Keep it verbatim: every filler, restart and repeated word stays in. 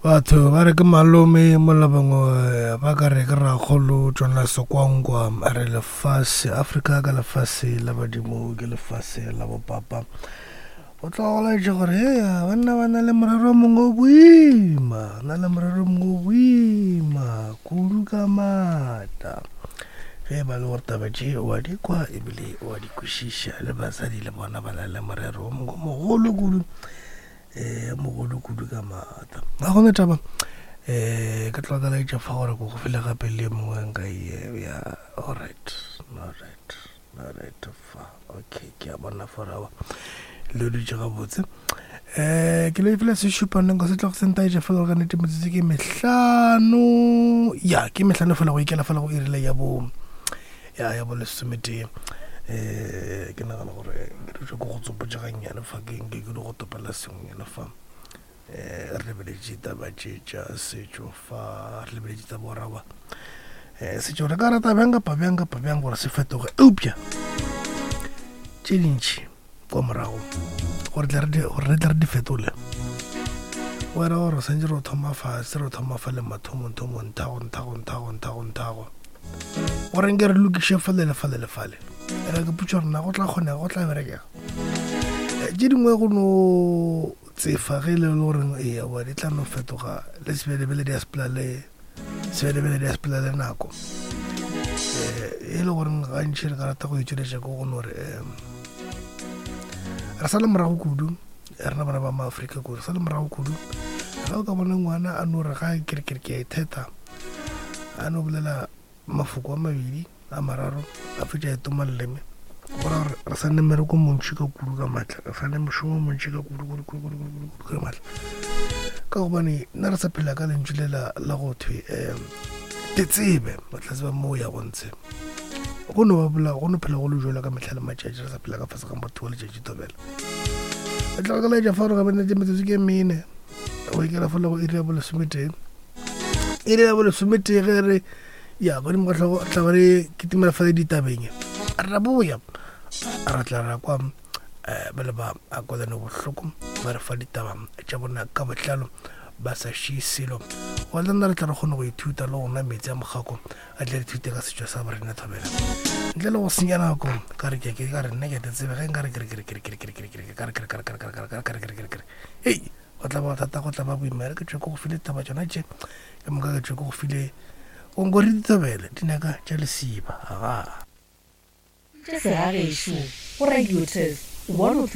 Batho ba re ke malome mola bangwe ba ka re ke rakgolo Jonas Kwankwa a re lefase Afrika ka lefase la badimo ke lefase la bopapa. Go tloga go laetša gore heya banna ba na le morero o mongwe o boima, na le morero o mongwe o boima kudu ka maatla. Ge e ba le gore taba tše o a di kwa ebile o a di kwešiša, le basadi le bona ba na le morero o mongwe o mogolo kudu, um mogolo kudu ka maatla. Ga gona taba, um ke tloga ka laetša fa gore ko go fele gape le mongwe nka e ya. Alright, alright, alright fa, okay, ke a bona for awa le dutše gabotse. Um ke le fela sešupaneng ka se tlogo se ntaetša fela gore ka nnete metsotso ke mehlano, ya ke mehlano fela go ikela fela go irile ya bo ya ya bo lesometee. Um ke nagana gore ke dutše ko go tsopotša gannyane fa, ke nke ke di go topela sengwenyana fa. Um re lebeletše taba tše tša setšo fa, re lebeletše taba gore aowa um setšo re ka rata bjang kapa bjang kapa bjang gore se fetoge, eupša tše dintši kwa morago gore tle re di- gore re tle re di fetole, go era gore santse re thoma fase, re thoma fa le mathomong thomong, nthago nthago nthago nthago nthago, gore nke re lokiše fale le fale le fale. Era ke putša gore na go tla kgonega, go tla berekega. Eh, tše dingwe go no tsefa ge e le goreng ee wa di tla no fetoga le sebelebele di a sepela le sebelebele di a sepela le nako. Um e le goreng gantši re ka rata go itšweletša ke go no re um re sa le morago kudu, rena bana ba maAfrika kudu re sa le morago kudu. Ge o ka bona ngwana a no re ga ke re ke re ke a itheta, a no bolela mafoko a mabedi a mararo a fetša e toma leleme, go ra gore re sa ne mmereko montši ka kudu ka maatla, re sa ne mošomo o montši ka kudu kudu kudu kudu kudu kudu ka maatla, ka gobane nna re sa phela ka lentšu le la la go thwe um te tsebe o tla tseba mo o ya go ntshe. Go no ba bola go no phela go le jalo ka mehla le matšatši, re sa phela ka fase ga motho wa letšatši thobela. E tloga ka laetša fa gore ga bene metsotso ke mene go ikela fa le go iri ya bolesometee, iri ya bolesometee ge re ya godimo ga hlogo tla ba re kitimela fa le ditabeng, ra boya ra tla ra kwa um ba le ba a kwalane bohloko ba re fa ditaba tša bona ka botlalo ba sa šie selo. Go le nna re tla re kgone go ithuta le go nwa metsi a mokgako, a tle re ithute ka setšo sa borena thobela ntle le go senya nako. Ka re ke ke ka re nna ke te tsebe ge nka re ke re ke re ke re ke re ke re ke re ke re ka re ke re ka re ka re ka re ka re ka re ke re ke re ke re hei go tla ba thata, go tla ba boima. Re ke tšwe ko go file taba tšona tše ka moka, ke tšwe ko go file onko re dithobele dinaka tša lesiba aga tša segagešo go Radio Test one oh three.